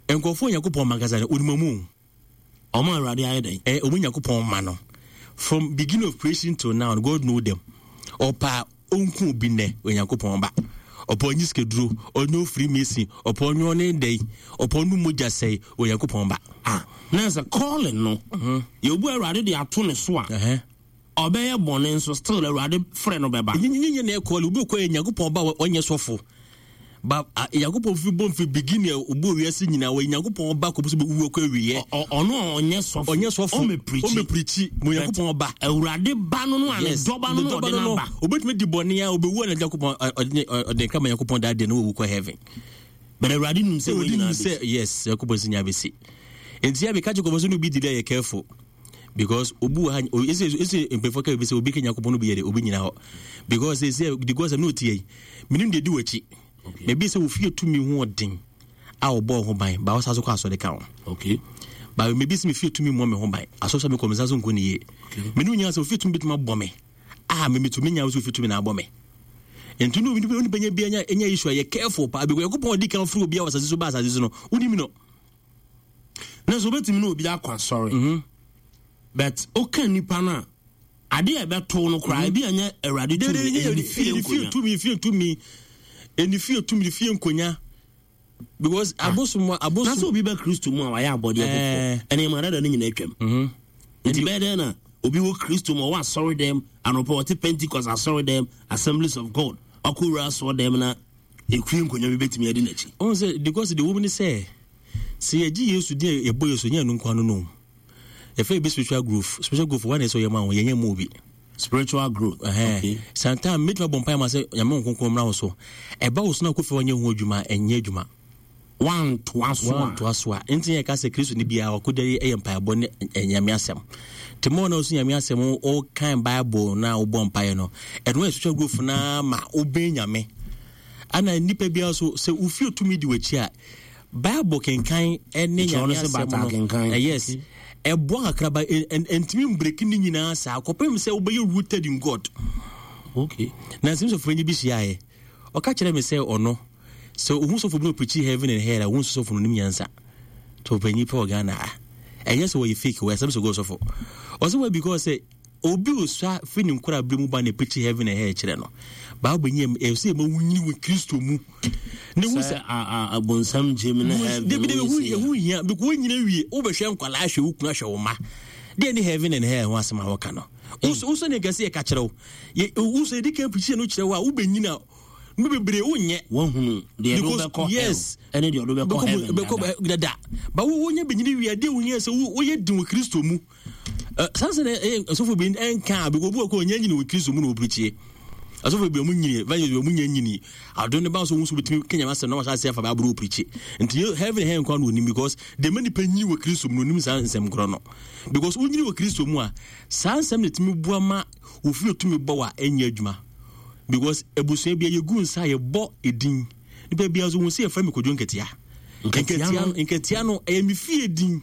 nkurɔfoɔ Nyankopɔn ma ankasa no onim ɔmu ɔmo awurade ayɛ dɛn eh, ɔmo Nyankopɔn ma no from beginning of creation till now God know them ɔpa ɔnku obi nnɛ Onyankopɔn ba ɔpɔ ɔnye sikaduro ɔnyɛ ofiri mason ɔpɔ ɔnyɛ ɔne dɛn ɔpɔ ɔno mogya sɛe Onyankopɔn ba ah na sɛ calling no mm-hmm. yɛbu awurade de ato ne so a uh-huh. Ɔbɛyɛ bɔne nso still Awurade frɛ no bɛba. Nyɛ na ɛkɔ obi kɔ yɛ Nyankopɔn ba ɔnyɛ sɔfo. Ba Nyankopɔn fi bɔ mfi beginning a obu wiase nyinaa wɔ Nyankopɔn ba kɔpɛ sɛ bɛwu akɔ awieɛ. Ɔno a ɔnyɛ sɔfo. Ɔnyɛ sɔfo. Ɔmɛ pirikyi. Ɔmɛ pirikyi. Mo Nyankopɔn ba. Awurade ba no no a ne dɔba no no ɔde no aba. Obetumi di bɔne a obewu a na Nyankopɔn ɔde ne kra ma Nyankopɔn daa deɛ na wawu kɔ heaven. But Awurade nim sɛ wɔn nyinaa bɛsi. Yes, Nyankopɔn sɛ nyinaa bɛsi. Nti a meka kyerɛ kɔmɔ sɛ no bi di dɛ yɛ careful. Because obi wɔ ha ese ese mpanyinfoɔ ka bi sɛ obi ka Nyankopɔn no bi yɛ de obi nyina hɔ because ese the God sɛ no tie yi menim deɛ di w'akyi maybe sɛ ofie tumi ho ɔden a ɔbɔ ho ban ba ɔsa so kɔ asɔre ka ho okay ba maybe sɛ mefie tumi mmɔ me ho ban asɔre sɛ mekɔ me nsa so nkɔ ne yie mene nyina sɛ ofie tumi bɛtumi abɔ me a memetumi nya sɛ ofie tumi na abɔ me nti no onipa nya bi anya anya issue a yɛ careful paa because Nyankopɔn ɔdi kan firi obi a wɔ asase so ba asase so no wonim no na sɛ wobɛtumi ne obi akɔ asɔre mhm. but woka nnipa no a ade a ɛbɛtow no koraa mhm. ebi anyɛ awurade tumi ɛyɛ ne fie nkonya tumi fie tumi ɛne fie tumi ne fie nkonya because ah. abosom abosom na sɛ obi bɛ kristo mu a wayɛ abɔdeɛ foforɔ eh. ɛne ɛma dada no nyinaa atwam mhm. nti bɛyɛ dɛn na obi wɔ kristo mu ɔwɔ asɔre dɛm anɔpɛ ɔte pentecost asɔre dɛm assemblies of god ɔkɔwura asɔre dɛm na Ekue nkonnwa bi betumi adi n'akyi. Ɔn sɛ because deɛ wɔm ne sɛ sɛ yɛgye Yesu din a yɛbɔ Yesu nyɛ ɛno nko ano no yɛfɛ bi spiritual growth spiritual growth wɔn na ɛsɛ ɔyɛ ma wɔn yɛnyɛ mu obi. Spiritual growth. Ɛhɛn okay. Santan mɛtumi abɔ mpaeɛ ma sɛ nyame nkonkron mmra wo so ɛba wo so na akɔfie wɔnyɛ ho adwuma ɛnyɛ adwuma. Wantoa so a. Wantoa so a. Nti yɛ ka sɛ Kristo ni biara ɔkɔda yi yɛ mpaebɔ ne Nyame asɛm. Te mɔ na ɔso Nyame asɛm ɔkan Bible na wobɔ mpaeɛ no, ɛno yɛ spiritual growth na ma wobɛn Nyame. Ana nipa biara so sɛ wofie tumi di w'akyi a Bible kenkan ne Nyame asɛm no. Yes. Ɛboa kakra ba ɛntumi mbreki ne nyinaa saa kɔpem sɛ wobɛyɛ rooted in God. Okay. Na nsɛm sɔfo bi hyiaeɛ. Ɔka kyerɛ me sɛ ɔno Sɛ ohu sɔfo bi na ɔpreachi heaven and hell a, wohu sɛ sɔfo no nim nyansa. Sɔfo panyin pɛ wɔ Ghana ha. Ɛnyɛ sɛ wɔyɛ fake, wɔyɛ asɛm sɛ God sɔfo. Ɔsɛ why because sɛ obi osua fi ne nkora bere mu ba na preachi heaven and hell kyerɛ no. Bible nyɛ ɛsɛ sɛ ɛma wonyini wɔ Kristo mu. Ne hu sɛ abonsam gyem ne heaven. Debi debi hu hu hia because wonyina wie wobɛhwɛ nkwalaa ahwɛ wo kunu ahwɛ wo ma. Deɛ ne heaven and hell ho asɛm a wɔka no. Wosɔ ne nkɛse yɛ ka kyerɛ wo. Wosɔ yɛdi kan preachi no kyerɛ wo a wobɛnyina no bebree wonyɛ. Wahunu deɛ ɛde wobɛkɔ yes ɛne deɛ ɔde wobɛkɔ heaven bɛkɔ dada ba wo wonya bɛnyini wie adeɛ wohia sɛ woyɛ den wɔ kristo mu saa sɛ ɛyɛ asɔfo bi ɛnka a bɛkɔ obi wɔ kɔ ɔnya nyini wɔ kristo mu na wɔpirikyie asɔfo bi ɔmo nyini evangelist bi ɔmo nya nyini adon ne ba so wɔn nso betumi kenya asɛm na wɔahyɛ ase afa baabolo wɔpirikyi nti heaven hɛn kwan na onim because deɛ mɛ nipa nyini wɔ kristo mu na onim saa nsɛm korɔ no because wonyini wɔ kristo mu a saa nsɛm na etumi boa ma ofiri otumi bɔ wa ɛnyɛ adwuma Because abusua bia yɛgu nsa a yɛbɔ edin. Nipa bia nso hu sɛ yɛfrɛ me Kojo Nketia. Nketia no Nketia no ɛyɛ me fie din.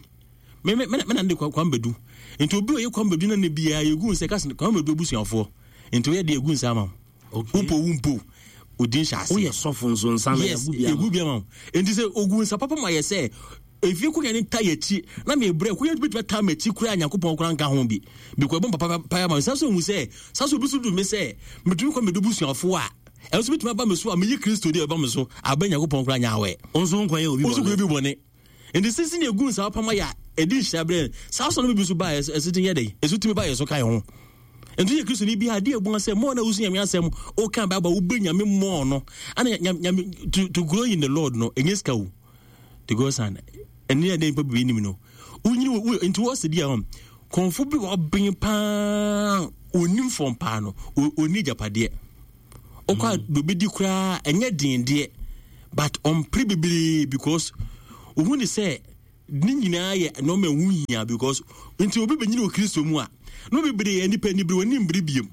Me me me na de Kwame Badu. Nti obi a ɔyɛ Kwame Badu na ne bia yɛgu nsa kasi Kwame Badu abusuafoɔ. Nti ɔyɛ de yɛgu nsa ama wo. Wompo wompo odin hyɛ aseɛ. Woyɛ sɔfo nso nsa no yɛgu bi ama. Yes, yɛgu bi ama wo. Nti sɛ ogu nsa papa ma yɛ sɛ Efie konya ne ta yɛkyi na mebrɛ konya bɛtumi ata m'akyi koraa Nyankopɔn koraa nka ho bi because ɛbɔ papa paa ma saa so hu sɛ saa so obi so du me sɛ metumi kɔ medu busuafoɔ a ɛno so bɛtumi aba me so a meyɛ Kristo deɛ ɛba me so abɛ Nyankopɔn koraa nyɛ awɛ nso nkɔyɛ obi bɔne obi bɔne nti sisi ne egu nsa apam ayɛ a ɛdi nhyira berɛ saa so no bi so ba ɛso ti yɛ dɛ ɛso tumi ba yɛ so ka yɛ ho. Nti yɛ Kristoni bi a adeɛ ɛbu sɛ mɔɔ na wosu Nyame asɛm woka Bible wobɛ Nyame mɔɔ no ana Nyame to grow in the Lord no ɛnyɛ sika o to go san ɛne ɛdɛ nipa bebree nim no wonyini wo nti wɔ sɛ bi a hɔ kɔnfo bi wɔ ɔben paa onim fɔm paa no ɔni agyapadeɛ wokɔ a mm. obɛdi koraa ɛnyɛ den deɛ but ɔmpere bebree because ohun ne sɛ ne nyinaa yɛ nneɛma ɛho hia because nti obi bɛnyini wɔ Kristo mu a na bebree yɛ nipa ni bere wɔn ni mbere biem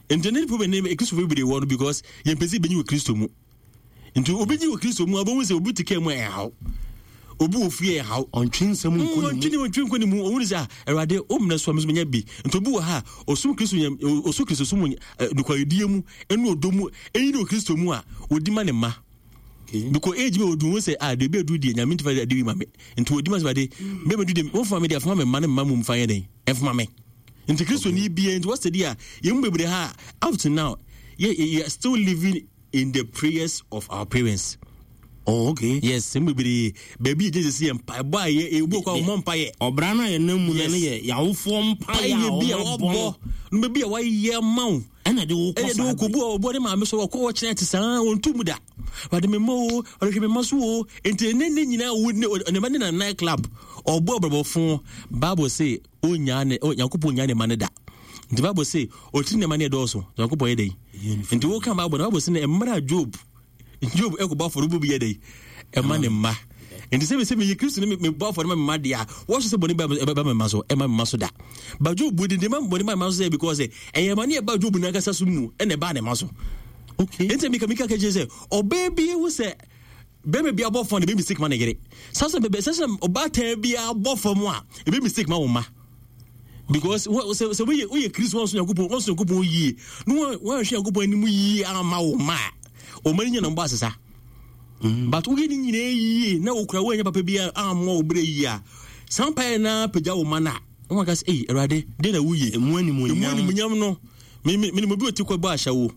nti ne nipa bɛ ne Kristo bebree wɔ no because yɛn pɛ sɛ bɛnyi wɔ Kristo mu. Nti obi nyi wɔ Kristo mu a, wobɛhu sɛ obi te kaa mu a ɛhaw. Obi wɔ fie a ɛhaw. Ɔntwe nsɛm nkɔ ne mu. Ɔntwe ɔntwe nkɔ ne mu. Ɔhunu sɛ ah, Awurade, wo mmerɛ so a me nso menya bi. Nti obi wɔ ha a, ɔsom Kristo nyam, ɔso Kristo som eh, nokwaredie mu, ɛne ɔdɔ mu, ɛyi ne wɔ Kristo mu a, ɔdi ma ne mma. Because age bi ɔdu ho sɛ ah, deɛ ɛbɛdu deɛ, Nyame ntifa de wi ma me. Nti ɔdi ma sɛ Awurade, bɛmɛdu deɛ, wɔmfa me deɛ, afoma me mma ne mma mu mfa yɛ dɛn, ɛmfoma me. Nti Kristo ni bia, nti wɔsɛ deɛ a, yɛn mu bebree ha, up to now, yɛ, yɛ still living in the prayers of our parents. Oh, okay. Yes, sɛ bebree baabi yɛ gyesɛ yɛ mpaebɔ a yɛ ebu kɔ ɔmɔ mpa yɛ. Ɔbra no a yɛnam mu no no yɛ yawofoɔ mpaeɛ a bi a wɔbɔ no baabi a wɔayɛ ma wo. Ɛna de wo kɔ saa. Ɛna de wo kɔ bu a ɔbɔ ne maame so ɔkɔ ɔkyerɛ te saa wɔn mu da. Wɔde me mma o, wɔde hwɛ me mma so o. Nti ne ne nyinaa wo ne ne ba ne na night club ɔbɔ ɔbrɛbɔfo Bible say onyaa ne Nyankopɔn onyaa ne ma ne da. Nti Bible se ɔtiri nneɛma ne ɛdɔɔso. Nyankopɔn yɛ dɛn? Nti woka Bible na Bible se ne mmerɛ a Job Job ɛkɔbɔ afɔre bi yɛ dɛn? Ɛma ne mma. Nti sɛ mesɛ meyɛ Kristo ne mebɔ afɔre ma me mma deɛ a wɔso sɛ bɔne bɛba me mma so ɛma me mma so da. Ba Job de deɛ ma bɔne ba me mma so sɛ because ɛyɛ ma ne ɛba Job n'ankasa so mu ɛna ɛbaa ne mma so. Okay. Nti mika mika kɛkyɛ sɛ ɔbaa bi ehu sɛ bɛrima bi abɔ fam de bɛ mistake ma ne yere. Sasa bɛbɛ sasa ɔbaatan bi abɔ fam a ebe mistake ma wɔn mma. Because sɛ sɛ woyɛ woyɛ Kristo wɔn so Nyankopɔn wɔn so Nyankopɔn yie na wɔn wɔn ahwɛ Nyankopɔn anim yie ama wɔn mma a wɔn ani nyɛ na wɔn bɔ asesa. Mm. But woyɛ ne nyinaa yie na wokura woanyɛ papa bi ammɔ wo berɛ yie a saa mpaeɛ no ara pagya wo ma no a wɔn aka sɛ ei Awurade deɛ na woyɛ emu animuonyam emu animuonyam no me me me obi ɔti kɔ bɔ ahyɛwo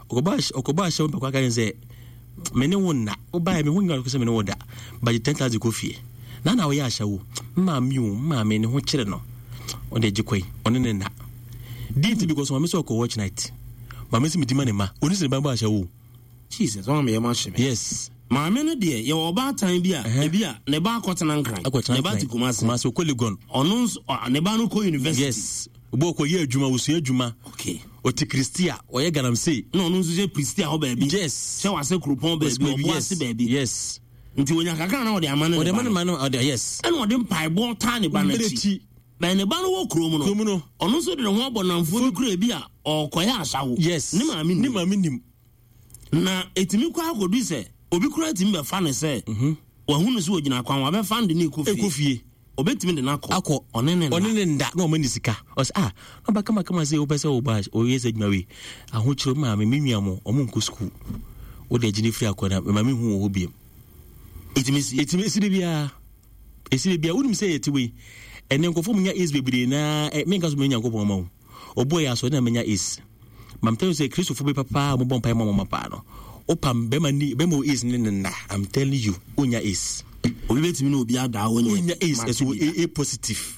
ɔkɔbɔ ahyɛwo mpɛkɔ aka ne sɛ me ne wo nna wobaeɛ me ho nyina sɛ me ne wo da bagye 10000 kɔ fie na na woyɛ ahyɛwo maame o maame ne ho kyerɛ no ɔde agye kɔi ɔne ne nna di nti because maame sɛ ɔkɔ watch night maame sɛ medi ma ne ma ɔni sɛ ne ba bɔ ahyɛwo. Jesus ɔma meyɛ ma hye me. Yes. Maame no deɛ yɛwɔ ɔbaatan bi a ebi a ne ba akɔtena Nkran ne ba te Kumasi Kumasi ɔkɔ Legon ɔno nso ne ba no kɔ university. Yes. Obi ɔkɔ yɛ adwuma osua adwuma. Okay. Ɔte Kristia ɔyɛ galamsey. Na ɔno nso hyɛ Kristia hɔ baabi. Yes. Hyɛ wase kuropɔn baabi ɔbo ase baabi. Yes. Nti onya kakra na ɔde ama ne ba no. Ɔde ama ne ɔde yes. Ɛna ɔde mpaebɔ taa ne ba no akyi. Bɛn ne ba no wɔ kurom no. Kurom no. Ɔno nso de ne ho abɔ namfoɔ bi kura ebi a ɔrekɔyɛ asawo. Yes. Ne maame nim. Ne maame nim. Na etumi kɔ akɔdu sɛ obi koraa tumi bɛfa no sɛ mhm. wahu no sɛ ogyina kwan wabɛfa no de no kɔ fie. Ekɔ fie. Obetumi de no akɔ. Akɔ. Ɔne ne nda. Ɔne ne nda na ɔma ne sika. Ɔsɛ ah na ɔba kama kama sɛ wopɛ sɛ ɔba ɔyɛ sɛ adwuma wei. Ahokyerɛ maame me nua mo ɔmo nkɔ sukuu. Wode agye ne firi akɔ na maame hu wɔ hɔ biem. Etumi si. Etumi si de biara. Esi de biara wonim sɛ yɛte wei. Ɛnɛ nkurɔfoɔ mu nya AIDS bebree na eh, menka so menya Nyankopɔn ma wo. Ɔbɔɔ yɛ asɔre na menya AIDS. But I'm telling you sɛ Kristofo bi papa a wɔbɔ mpaeɛ ma wɔn paa no, wopam bɛrima ni bɛrima wɔ AIDS ne ne nna. I'm telling you, wonya AIDS. Obi betumi ne obi ada a wonya Wonya AIDS ɛso A, A positive.